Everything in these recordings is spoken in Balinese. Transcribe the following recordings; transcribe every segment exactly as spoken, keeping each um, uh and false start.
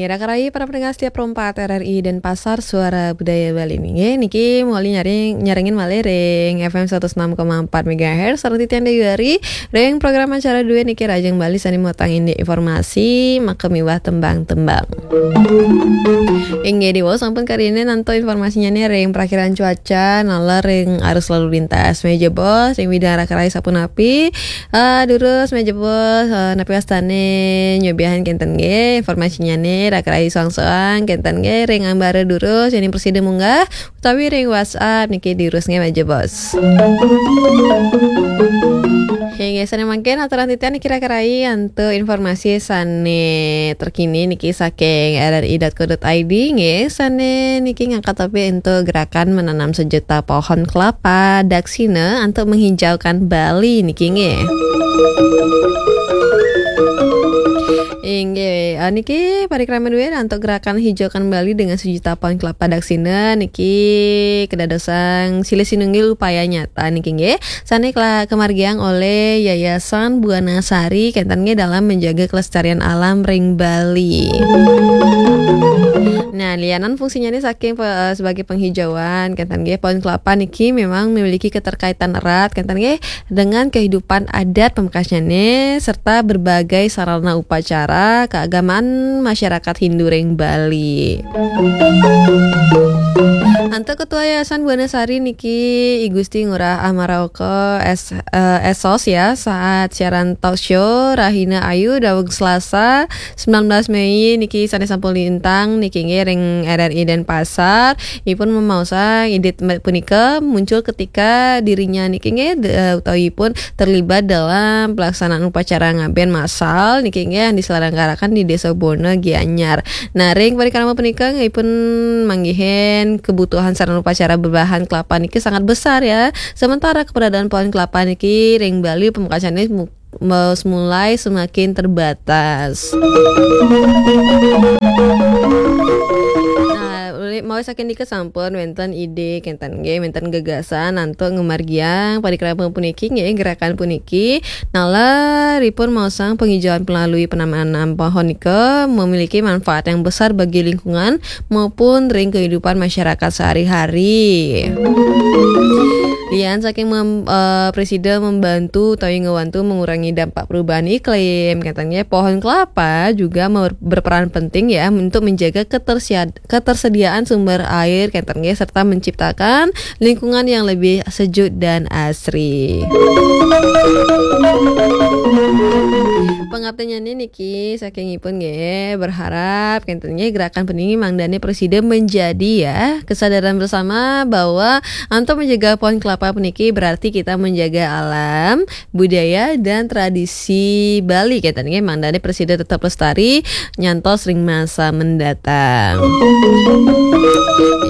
Raka rai para pendengar setiap Pro empat R R I Denpasar, Suara Budaya Bali niki. Nggih, niki muli nyaring, nyarengin malih ring F M seratus enam koma empat megahertz, sareng titiang Dewi Ari, ring program acara duet niki Rajang Bali sane mutang indik informasi, maka miwah tembang-tembang. Inggih, diwau sampun karina antuk informasinyane ring prakiraan cuaca, naler ring arus lalu lintas. Mejebos, ring widang raka rai sapunapi, Ah, durus, mejebos, ah, napi wastane nyobiahan kenten nggih, informasinyane raka rai soang-soang kenten nggih, ring ambara durus, yening prasida munggah, utawi ring WhatsApp niki durus nggih, mejebos. Inggih, sane mangkin aturang titiang niki raka rai antuk informasi sane terkini niki saking R R I dot co dot I D nggih, sane niki ngangkat topik antuk gerakan menanam sejuta pohon kelapa daksina antuk menghijaukan Bali niki nggih. Inggih, ah, niki parikrama duet antuk gerakan hijaukan Bali dengan sejuta pohon kelapa daksina niki kadadosang silih sinunggil upaya nyata niki nggih. Sane kela-, kamargiang oleh Yayasan Buana Sari kenten nggih dalam menjaga kelestarian alam ring Bali. Nah, lianan fungsinyane saking pe-, eh, sebagai penghijauan kenten nggih, pohon kelapa niki memang memiliki keterkaitan erat kenten nggih dengan kehidupan adat pamekasnyane serta berbagai sarana upacara keagamaan masyarakat Hindu ring Bali. Antuk Ketua Yayasan Buana Sari niki I Gusti Ngurah Amaraoka S-, eh, Esos ya, saat siaran talk show Rahina Ayu daweg Selasa sembilan belas Mei niki sane sampun lintang niki nggih ring R R I Denpasar. Ipun mamaosang indik punika muncul ketika dirinya niki nggih de-, utawi ipun terlibat dalam pelaksanaan upacara ngaben massal niki nggih yang diselenggarakan di Desa Bona, Gianyar. Nah, ring parikrama punika ipun manggihin kebutuhan sarana upacara berbahan kelapa niki sangat besar ya. Sementara keberadaan pohon kelapa niki ring Bali pamekasane mu-, mulai semakin terbatas. Nah, uli-, mawis saking nika sampun wenten ide kenten nggih, wenten gagasan antuk ngamargiang parikrama puniki nggih, gerakan puniki. Naler ipun maosang penghijauan melalui penanaman pohon nika memiliki manfaat yang besar bagi lingkungan maupun ring kehidupan masyarakat sehari-hari. Lian saking mem-, eh, presida membantu utawi ngewantu mengurangi dampak perubahan iklim, kenten nggih, pohon kelapa juga mer-, berperan penting ya untuk menjaga ketersia-, ketersediaan sumber air, kenten nggih, serta menciptakan lingkungan yang lebih sejuk dan asri. Pangaptinyane niki saking ipun nggih, berharap kenten nggih gerakan puniki mangdane prasida menjadi ya kesadaran bersama bahwa antuk menjaga pohon kelapa puniki berarti kita menjaga alam, budaya, dan tradisi Bali kenten nggih, mangdane prasida tetep lestari nyantos ring masa mendatang.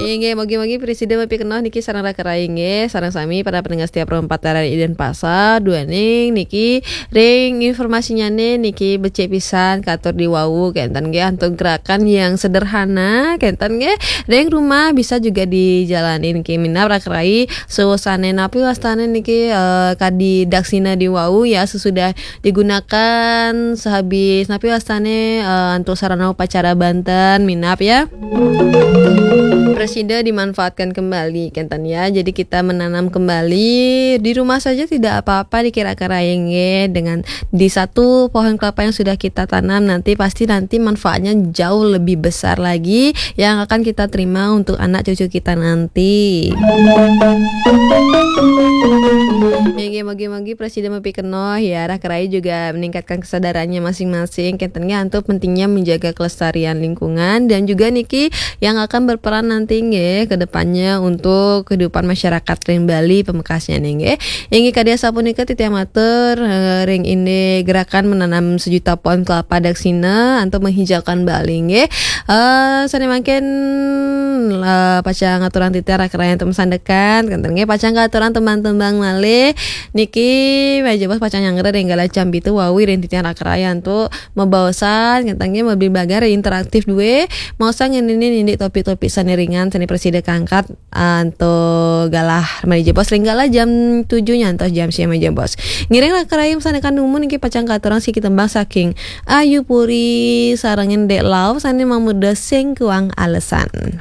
Inggih, mugi-mugi prasida mapikenoh niki sareng raka rai nggih, sareng sami para pendengar setia Pro empat R R I Denpasar, duaning niki ring informasinyane niki becik pisan katur diwau kenten nggih antuk gerakan yang sederhana kenten nggih, ring rumah bisa juga dijalanin niki minab raka rai sawusane napi wastane niki, eh, kadi daksina diwau ya, sesudah digunakan sehabis napi wastane, eh, antuk sarana upacara banten minab ya. Prasida dimanfaatkan kembali kenten ya. Jadi kita menanam kembali di rumah saja tidak apa-apa dikira-kira nggih, dengan di satu pohon kelapa yang sudah kita tanam nanti pasti nanti manfaatnya jauh lebih besar lagi yang akan kita terima untuk anak cucu kita nanti. Inggih, mugi-mugi prasida mapikenoh ya, raka rai juga meningkatkan kesadarannya masing-masing kenten nggih antuk pentingnya menjaga kelestarian lingkungan dan juga niki yang akan berperan nanti nggih ke depannya untuk kehidupan masyarakat ring Bali pamekasnyane nggih. Inggih kadi asapunika titiang matur, eh, ring indik gerakan menanam sejuta pohon kelapa daksina antuk menghijaukan Bali nggih. Eh, sane mangkin, eh, pacang ngaturang titiang raka rai antuk masandekan kenten nggih, pacang ngaturang tembang-tembang malih. Niki mejebos pacang nyanggra ring galah jam pitu wau ring titiang raka rai antuk mabaosan kenten nggih, mabligbagan interaktif duwe, maosang ngeninin indik topik-topik sane ringan. Seni presida kangkat anto galah mani jebos ring galah jam tujuh nyantos jam siam jebos. Ngiring rakerayum sané kanumun niki pacang katurang siki tembang saking Ayu Puri sarengin Dek Lau sané mamurda Sing Kuang Alesan.